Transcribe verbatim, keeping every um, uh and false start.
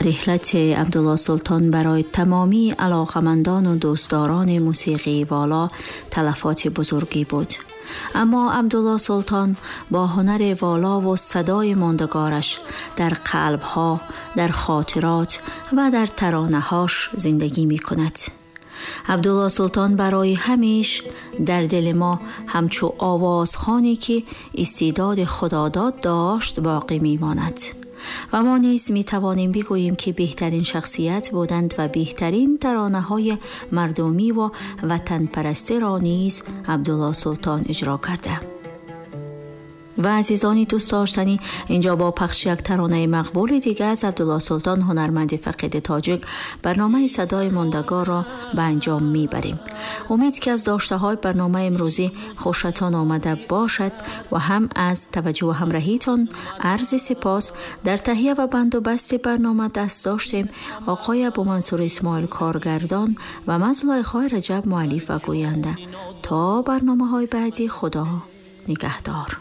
رحلت عبدالله سلطان برای تمامی علاقمندان و دوستداران موسیقی والا تلفات بزرگی بود. اما عبدالله سلطان با هنر والا و صدای ماندگارش در قلبها، در خاطرات و در ترانه‌هاش زندگی می کند. عبدالله سلطان برای همیش در دل ما همچو آوازخوانی که استعداد خداداد داشت باقی می ماند. و ما نیز می توانیم بگوییم که بهترین شخصیت بودند و بهترین ترانه های مردمی و وطن پرستی را نیز عبدالله سلطان اجرا کرده. و عزیزانی دوست داشتنی، اینجا با پخش یک ترانه مقبول دیگه از عبدالله سلطان، هنرمند فقید تاجیک، برنامه صدای ماندگار را به انجام میبریم. امید که از داشته های برنامه امروزی خوشتان آمده باشد و هم از توجه و همراهیتان عرض سپاس. در تهیه و بند و بست برنامه دست داشتیم آقای ابو منصور اسماعیل کارگردان و من زلیخای رجب مؤلف و گوینده. تا برنامه های بعدی، خدا نگهدار.